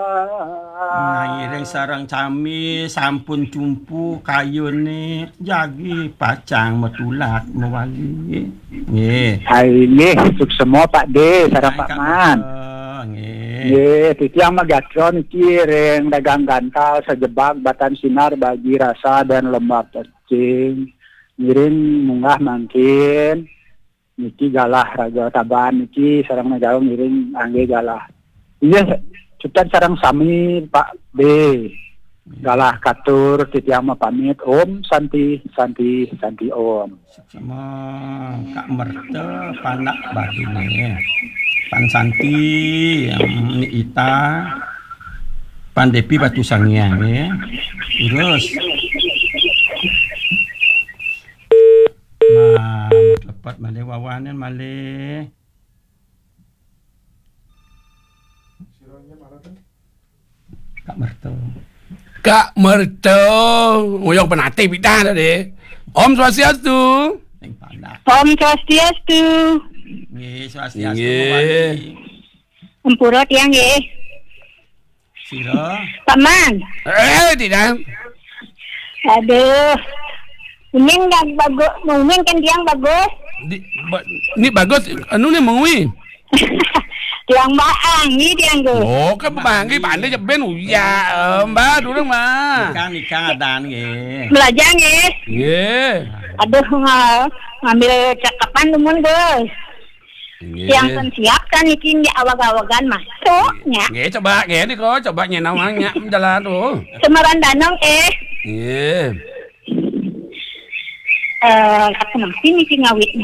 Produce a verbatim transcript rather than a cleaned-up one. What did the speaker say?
Nah, ngiring sareng sami sampun jumpu kayune jagi pacang matulak mawali. Nggih. Hai, nggih, suksema Pak De, sareng Hai, Pak Kak Man. Betul, nggih. Nggih, titiang magatra niki ring dagang gantal sajebag Batan Sinar, Bagi Rasa dan Lembah Pecing. Ngiring munggah mangkin. Niki galah raga Taban niki sareng negara ngiring anggih galah. Iya, cutet sareng sami Pak B. Galah katur titiang mapamit. Om Santi, Santi, Santi Om. Sama Kak Merta, Panak Badune. Pan Santi, Ni Ita, Pan Depi Batu Sangiang ya. Terus. Nah, tepat malih wawanen malih. Kak Merto. Kak Merto, ngoyong penatih pidan tadi. Om Swastiastu. Ning pandak. Om Swastiastu. Nggih, Swastiastu. Nggih. Mawali. Ampura tiang nggih. Sira. Paman. Eh, tidak. Aduh. Uning dah bagus, uning kan tiang bagus. Di, ba, ni bagus, anu ni mengui. Tiang baang ni tiang tu. Oh, kan banggi pandai je ben uya. Eh, mbak dulu mah. Nikah, nikah adan nggih. Belajar nggih. Nggih. Aduh, nga-, ngambil cakapan dumun, Gus. Nggih. Yang kan siap kan niki nggih awag-awagan masuk nya. Nggih, coba nggih niku, coba nyenawang nya jalan tu. Semeran Danong eh. Nggih. Eh, aku masih niki ngawit